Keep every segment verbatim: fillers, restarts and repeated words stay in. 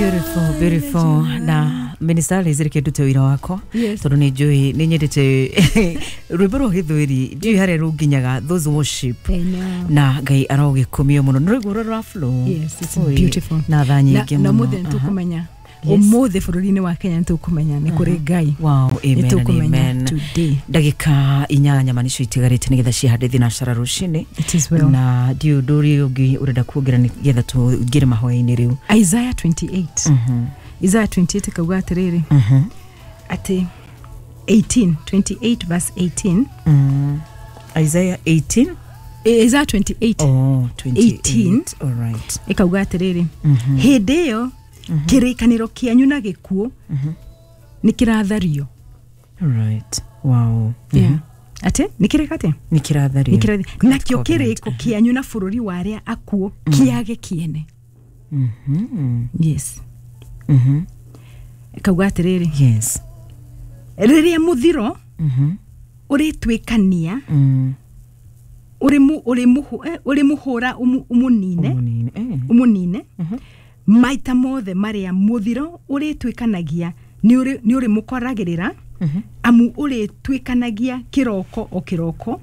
Beautiful, beautiful. Na Minister Liz, reke ndute wĩra wakwa, Yes. tondũ nĩ njũĩ nĩ nyendete rwĩmbo rwa gĩthweri, ndiũĩ harĩa rũnginyaga, those worship. I know. Na Ngai arogĩkumio mũno nĩ rũigũ rũrĩa rwa flow. Yes, it's Oi, beautiful. na tha nyingĩ na mũno. mũthĩ nĩ Aha. tũkũmenya, Yes. ũmũthĩ bũrũri-inĩ wa Kenya nĩ tũkũmenya nĩ kũrĩ Ngai. Wow, amen Nĩ and tũkũmenya amen. today. Ndagĩka inyanya ma nĩcio itigarĩte nĩgetha cihande thinacara rũcinĩ. It is well. Na ndiũ ũndũ ũrĩa ũngĩ ũrenda kuongerera nĩgetha tũingĩre mahoya-inĩ rĩu? Isaiah twenty-eight, Isaiah twenty-eight ĩkauga atĩrĩrĩ, Mhm. atĩ eighteen, twenty-eight verse eighteen. Mm. Isaiah eighteen. Eh, Isaiah twenty-eight. Oh, twenty-eight. eighteen. All right. Ĩkauga atĩrĩrĩ, hĩndĩ ĩyo kĩrĩkanĩro kĩanyu na gĩkuũ nĩ kĩrathario. All right. Wow. Yeah. Atĩ nĩ kĩrĩka atĩ Nĩ kĩrathario. Nĩ kĩrathi- nakĩo Covenant. kĩrĩko kĩanyu na bũrũri wa arĩa akuũ kĩage kĩene. Mhm. Yes. Mhm. Ĩkauga atĩrĩrĩ, Yes. rĩrĩa mũthiro Mhm. ũrĩtuĩkania, Mm. ũrĩmũ- ũrĩmũhũ- eh, ũrĩmũhũra ũmũ- ũmũnine. Ũmũnine. Eh. Ũmũnine maita mothe marĩa mũthiro ũrĩtuĩkanagia nĩ ũrĩ- nĩ ũrĩmũkoragĩrĩra, amu ũrĩtuĩkanagia kĩroko o kĩroko,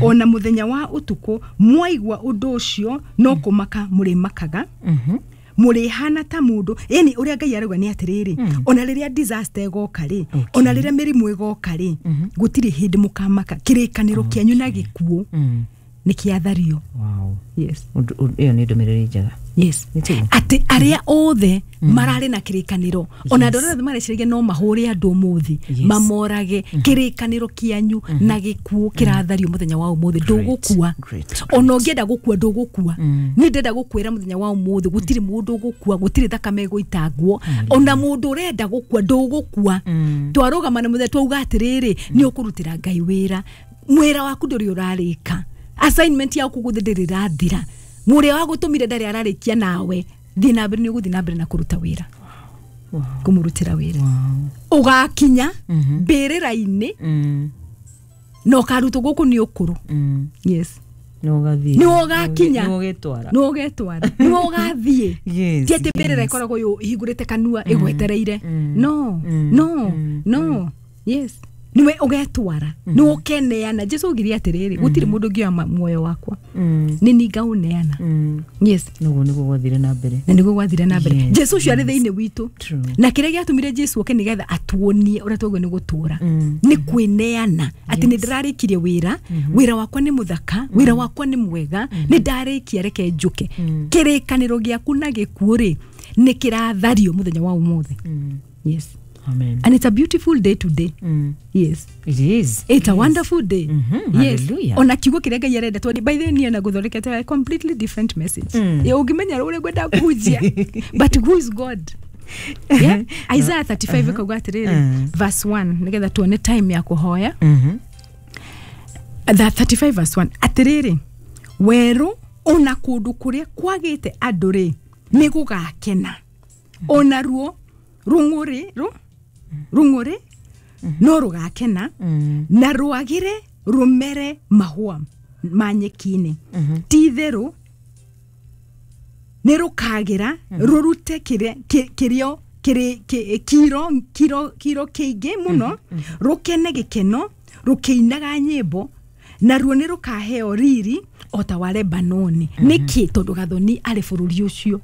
ona mũthenya wa ũtukũ. Mwaigua ũndũ ũcio no kũmaka mũrĩmakaga, Mhm. mũrĩhana ta mũndũ. Yani ũrĩa Ngai arauga nĩ atĩrĩrĩ, ona rĩrĩa disaster ĩgoka rĩ, ona rĩrĩa mĩrimũ ĩgoka rĩ, gũtirĩ hĩndĩ mũkamaka. Kĩrĩkanĩro kĩanyu na gĩkuũ Mm. nĩ kĩathario. Wow. Yes. Ũndũ- ũndũ- ĩyo nĩ ndũmĩrĩri njega. Yes. Nĩ tiguo? Atĩ arĩa othe mararĩ na kĩrĩkanĩro, ona andũ arĩa othe mareciragia no mahũre andũ ũmũthĩ, Yes. mamorage, kĩrĩkanĩro kĩanyu na gĩkuũ kĩrathario mũthenya wa ũmũthĩ. Ndũgũkua. Great, Ona ũngĩenda gũkua, ndũgũkua. Niĩ ndĩrenda gũkwĩra mũthenya wa ũmũthĩ, gũtirĩ mũndũ ũgũkua, gũtirĩ thakame ĩgũitangwo. Ona mũndũ ũrenda gũkua, ndũgũkua. Twarũgama na mũthenya twauga atĩrĩrĩ, nĩ ũkũrutĩra Ngai wĩra. Wĩra waku ndũrĩ ũrarĩka, assignment yaku gũthĩ ndĩrĩ ĩrathira. Mũrĩa wagũtũmire ndarĩ ararĩkia nawe. Thiĩ na mbere, nĩ ũgũthiĩ na mbere na kũruta wĩra, Wow. kũmũrutĩra wĩra. Wow. Ũgakinya mbĩrĩra-inĩ Mm. na ũkarutwo gũkũ nĩ ũkũrũ. Mm. Yes. Nĩ ũgathiĩ. Nĩ ũgakinya. Nĩ ũgĩtwara. Nĩ ũgetwara, nĩ ũgathiĩ. Yes, Ti atĩ mbĩrĩra yes. ĩkoragwo yũ- ĩhingũrĩte kanua ĩgwetereire. No, no, no. Yes, nĩwe ũgetwara, nĩ ũkeneana. Jesu augire atĩrĩrĩ, gũtirĩ mũndũ ũngĩoya ma- muoyo wakwa, Mm. nĩ ni ngaũneana. Mm. Yes. Nĩguo nĩguo gwathire na mbere. Na nĩguo gwathire na mbere. Yes, Jesu ũcio arĩ thĩinĩ witũ. True. Na kĩrĩa gĩatũmire Jesu oke nĩgetha atuonie ũrĩa twagĩrĩirwo nĩ gũtũra, Mm. nĩ kwĩneana atĩ nĩ ndĩrarĩkirie wĩra, wĩra wakwa nĩ mũthaka, wĩra wakwa nĩ mwega, nĩ ndarĩkia, reke njũke. Kĩrĩkanĩro gĩaku na gĩkuũ rĩ, nĩ kĩrathario mũthenya wa ũmũthĩ. Mm. Yes. Amen. And it's a beautiful day today. Mm. Yes. It is. It's a wonderful day. Mhm, Yes. hallelujah. Ona kiugo kĩrĩa Ngai arenda twari, by the way, niĩ na gũthondekete a completely different message. Mm. Mm. Ũngĩmenya ũrĩa ngwenda kũhunjia, but who is God? Yeah? Isaiah thirty-five ĩkauga atĩrĩrĩ, Mm. verse one, nĩgetha tuone time ya kũhoya. Mhm. The thirty-five verse one, atĩrĩrĩ, werũ ona kũndũ kũrĩa kwagĩte andũ rĩ, nĩ gũgakena, ona ruo rũng'ũrĩ rũ rũng'ũrĩ no rũgakena, Mm. na rwagĩre rũmere mahũa ma nyeki-inĩ. Ti itherũ nĩ rũkagĩra rũrute kĩrĩa- kĩ- kĩrĩo kĩrĩ- kĩ- kiro kiro kiro kĩingĩ mũno, rũkene gĩkeno rũkĩinaga nyĩmbo, naruo nĩ rũkaheo riri o ta wa Lebanoni. Nĩkĩ? Tondũ Gathoni arĩ bũrũri ũcio.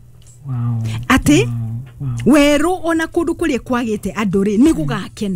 Wow. Atĩ Wow. Wow. werũ ona kũndũ kũrĩa kwagĩte andũ rĩ, nĩ gũgakena.